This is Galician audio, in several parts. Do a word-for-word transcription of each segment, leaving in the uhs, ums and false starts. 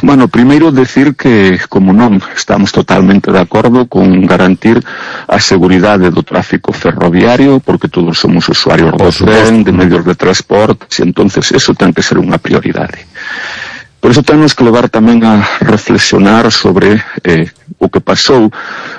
Bueno, primeiro decir que, como non, estamos totalmente de acordo con garantir a seguridade do tráfico ferroviario, porque todos somos usuarios do tren, de medios de transporte, e entonces eso ten que ser unha prioridade. Por iso temos que levar tamén a reflexionar sobre eh, o que pasou,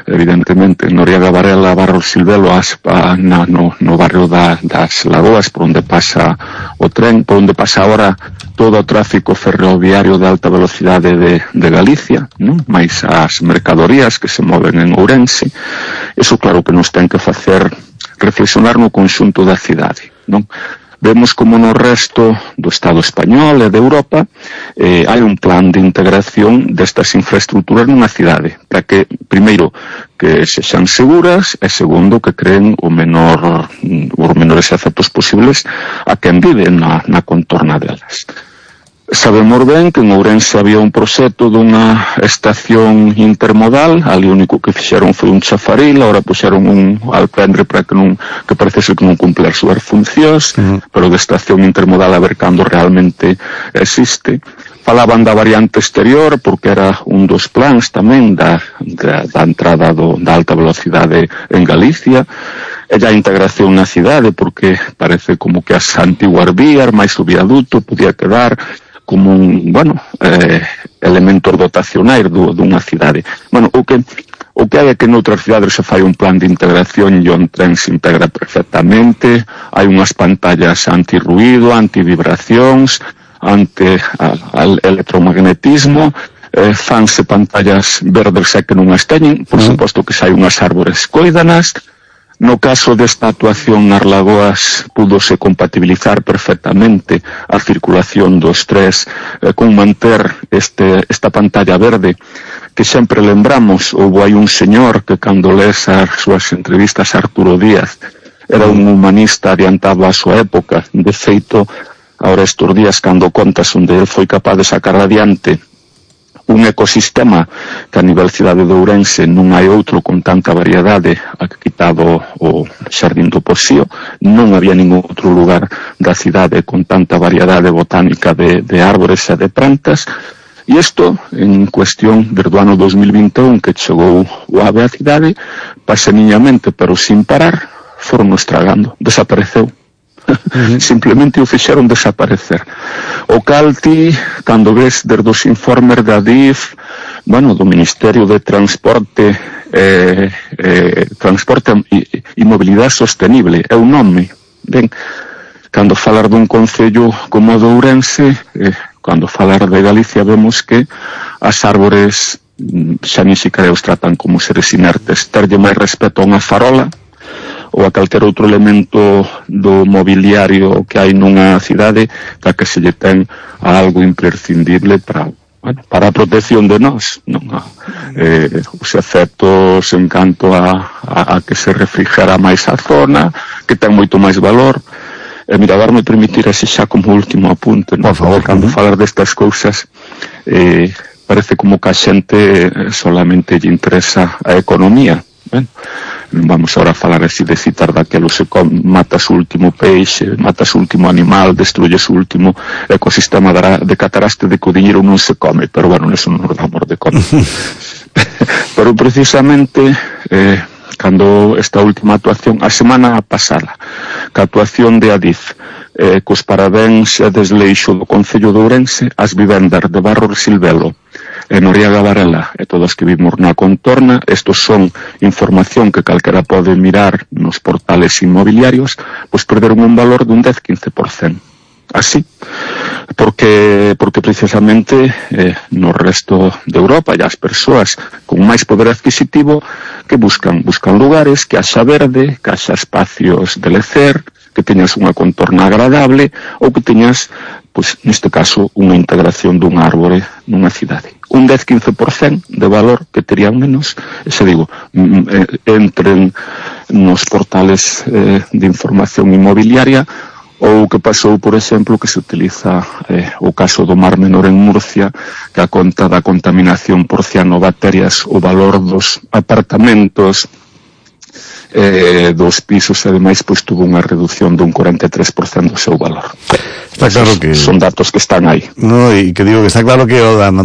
evidentemente, en Noriega Varela, Barro Silvelo, Aspa, na, no, no barrio da, das Lagoas, por onde pasa o tren, por onde pasa ahora todo o tráfico ferroviario de alta velocidade de, de Galicia, non? Mais as mercadorías que se moven en Ourense. Eso claro que nos ten que facer reflexionar no conxunto da cidade, non? Vemos como no resto do Estado español e de Europa eh, hai un plan de integración destas infraestructuras nunha cidade, para que, primeiro, que sexan seguras e, segundo, que creen o menor, os menores efectos posibles a quen vive na, na contorna delas. Sabemos ben que en Ourense había un proxecto dunha estación intermodal, ali o único que fixeron foi un chafaril, agora puxeron un alpendre para que non, que parece ser que non cumplir as súas funcións, uh-huh. pero de estación intermodal a ver cando realmente existe. Falaban da variante exterior, porque era un dos plans tamén da, da, da entrada do, da alta velocidade en Galicia, e a integración na cidade, porque parece como que as antiguas vías, máis o viaduto, podía quedar como un, bueno, eh, elementos dotacionais do, dunha cidade. Bueno, o que o que hai é que noutras cidades se fai un plan de integración e o tren se integra perfectamente, hai unhas pantallas anti-ruído, anti-vibracións, anti-al electromagnetismo, eh, fanse pantallas verdes e que non as teñen, por suposto que se hai unhas árbores coídanas. No caso desta actuación nas Lagoas púdose compatibilizar perfectamente a circulación dos tres eh, con manter este, esta pantalla verde que sempre lembramos. Houve hai un señor que cando lees as súas entrevistas a Arturo Díaz era un humanista adiantado á súa época. De feito, ahora estes días cando contas onde ele foi capaz de sacar adiante un ecosistema que a nivel cidade de Ourense non hai outro con tanta variedade, quitado o Xardín do Poxío, non había ningún outro lugar da cidade con tanta variedade botánica de, de árbores e de plantas, e isto en cuestión desde o ano dos mil vinte e un que chegou o ave á cidade, paseniñamente, pero sin parar, foron estragando, desapareceu. Uh-huh. Simplemente o fixeron desaparecer. O cal ti, cando ves desde os informes da D I F, bueno, do Ministerio de Transporte eh, eh, Transporte e, e Mobilidade Sostenible, é un nome. Ben, cando falar dun concello como o de Ourense, eh, cando falar de Galicia, vemos que as árbores xa ni siquiera os tratan como seres inertes. Terlle máis respeto a unha farola ou a calquer outro elemento do mobiliario que hai nunha cidade que que se lle ten a algo imprescindible para, bueno, para a protección de nós, non? Eh, os efectos en canto a, a, a que se refrigera máis a zona, que ten moito máis valor. E mira, darme permitir así xa como último apunte, non? Por favor, cando falar destas cousas eh, parece como que a xente solamente lle interesa a economía. Ben, vamos ahora a falar así de citar daquelo, se com, matas o último peixe, matas o último animal, destruyes o último ecosistema de cataraste de que o diñeiro non se come, pero bueno, eso non nos damos de comer. Pero precisamente eh, cando esta última actuación, a semana pasada, que a actuación de Adif eh, cos parabéns e desleixo do Concello de Ourense, as vivendas de Barro Silvelo e Noriega Varela e todas que vimos na contorna, estos son información que calquera pode mirar nos portales inmobiliarios, pois perderon un valor dun dez a quince por cento. Así, porque porque precisamente eh, no resto de Europa e as persoas con máis poder adquisitivo que buscan buscan lugares que haxa verde, que haxa espacios de lecer, que teñas unha contorna agradable ou que teñas, pois neste caso, unha integración dun árbore nunha cidade. Un dez a quince por cento de valor que terían menos, se digo, entren nos portales eh, de información inmobiliaria, ou que pasou, por exemplo, que se utiliza eh, o caso do Mar Menor en Murcia, que a conta da contaminación por cianobacterias, o valor dos apartamentos, eh, dos pisos e demais, pois tuvo unha reducción dun cuarenta e tres por cento do seu valor. Está claro que son datos que están aí. No, e que digo que está claro que a naturaleza